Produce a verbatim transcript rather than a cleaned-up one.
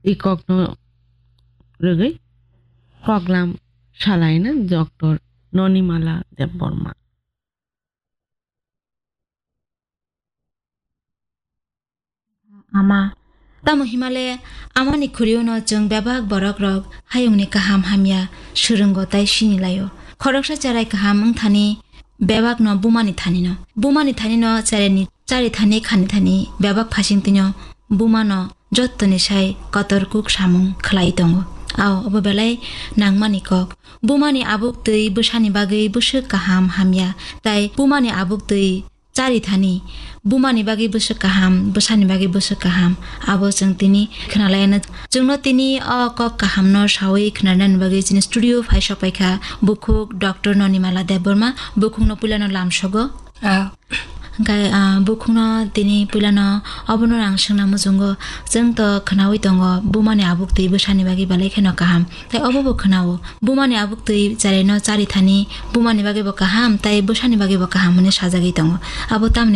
twi kokno rwgwi koklam salaina Doctor Nonimala Debbarma. Ama. Tamo himale amani khuriuno chwng bebak borokrok hayungni kaham hamya swrwngo tai sinilaio. Khoroksa cherai kaham wngthani bebakno bumani thanino. Bumani thanino cheraini chari thani khani thani bebak phasingtwino bumano jottoni sai kotor kuk samung khlai tongo. Ao obo belai nangmani kok. Bumani abuk twi bwsani bagwi bwswk kaham hamya, tai bumani abuk twi chari thani bumani bagwi bwswk kaham, bwsani bagwi bwswk kaham. Abo chwng tini khwnalaina. Chwngno tini o kok kahamno sawi khwnanani bagwi chini studio phai sokpaikha bukhuk Doctor Nonimala Debbarma. Bukhukno puilano lamsogo. Ah. Hwnkhe, ah, bukhukno tini puilano obono ang swngna muchungo, chwng to khwnawi tongo, bumani abuk twi bwsani bagwi belai kheno kaham. Tai obo bo khwnao, bumani abuk twi cheraino chari thani, bumani bagwi bo kaham, tai bwsani bagwi bo kaham hwnwi sajagwi tongo. Abo tamni